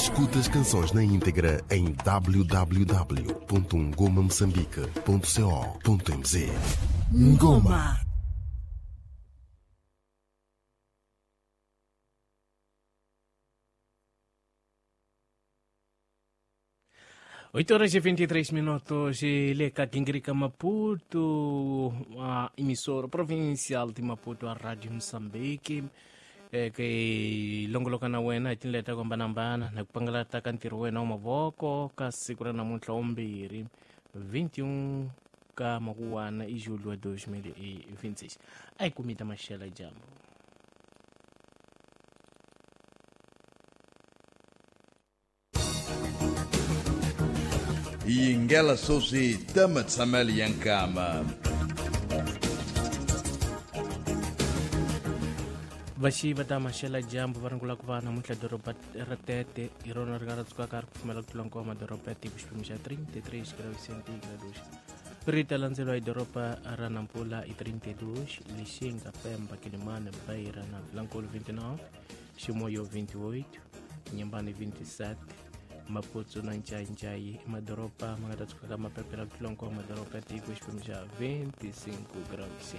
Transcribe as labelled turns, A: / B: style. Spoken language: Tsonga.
A: Escuta as canções na íntegra em www.ngomamoçambique.co.mz.
B: Ngoma.
C: 8h23 leka kingirika Maputo, a emissora provincial de Maputo, a Rádio Moçambique, ke longoloka na wena hi tindlela ta ku hambanahambana na ku pangalata ka ntirho wena wa mavoko ka siku ra namuntlha wa 21 ka makuwana i julho wa 2026. A hi kumi ta maxela dyambu.
D: Yingela sweswi ta matshamelo ya nkama.
C: Vaxi va ta maxela dyambu va ringula ku va namuntlha doroba ra Tete hi rona ri nga ra tsukaka ri kufumela ku tlula nkova madoroba ya tiko, xiphemu xa 33 graus centigrados. Ri ta landzeriwa hi doroba ra Nampula hi 32, Lixinga, Pemba, Kilimane, Beira na Vilankulu 29, Ximoyo 28, Nyambani 27, Maputo na Ncaincayi i madoroba ma nga ta tsukaka mapepela ku tlula nkova madoroba ya tiko, xiphemu xa 25 graus.